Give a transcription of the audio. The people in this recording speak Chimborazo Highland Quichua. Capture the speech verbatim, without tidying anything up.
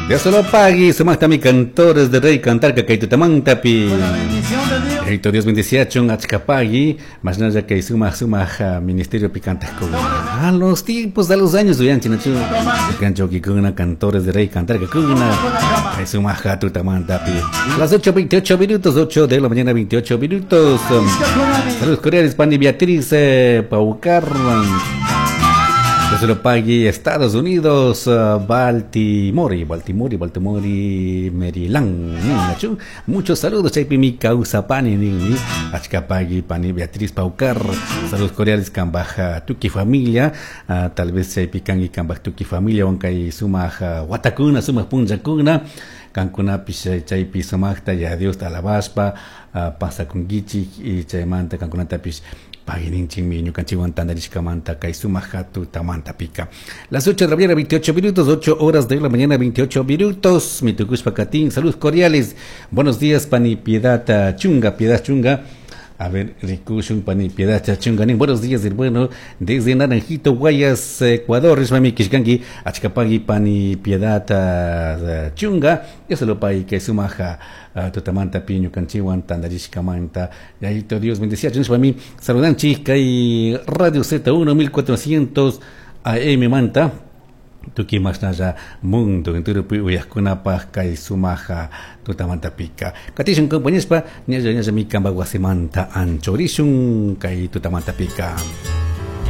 Dios lo pague, sumaqtami cantores de rey cantarka kay tutamantapi. Con la bendición de Dios. Yaito Dios bendiciachun achkapagui, mashnalla kay sumaq sumaq ah, ministerio pi cantaqkuna. A los tiempos, a los años uyanchik nachu. Kanchokikuna cantores de rey cantarkakuna. Kay sumaq tutamantapi. Las ocho veintiocho minutos, ocho de la mañana veintiocho minutos. Saludos cordiales, Pani Beatriz eh, Paucar. Dios lo pague, Estados Unidos, uh, Baltimore, Baltimore, Baltimore, Maryland. Nachu. Muchos saludos, chaypi mi causa pani ninmi, achkapagui pani Beatriz Paucar. Saludos cordiales kambaj tuki familia, uh, tal vez chaypi kanki kambaj tuki familia wankay sumaq uh, watakuna, sumaq punllakuna. Kankunapish chaypi sumaqta ya Diosta alabashpa uh, pasakunkichik y chaymanta kankunatapish paguininchikmi ñukanchikwan tantarishkamanta kay sumaq tutamantapika. Las ocho de la mañana veintiocho minutos, ocho horas de la mañana veintiocho minutos. Mi tukushpa katin, saludos cordiales. Buenos días, pani Piedad Chunga, Piedad Chunga. A ver, rikushun pani Piedad Chunga. Buenos días, hermano. Desde Naranjito, Guayas, Ecuador. Rishmami kishkanki, achkapagui pani Piedad uh, Chunga. Dios lo pague kay sumaq uh, tutamanta pi ñukanchikwan tantarishkamanta. Yaito Dios bendecía. Mí saludanchik kay Radio Z uno mil cuatrocientos A M manta. Tuki mashnalla mundo enteropi uyaqkunapaq kay sumaq tutamantapika. Katishun compañespa, ñalla ñalla mi kamba wasimanta anchurishun kay tutamantapika.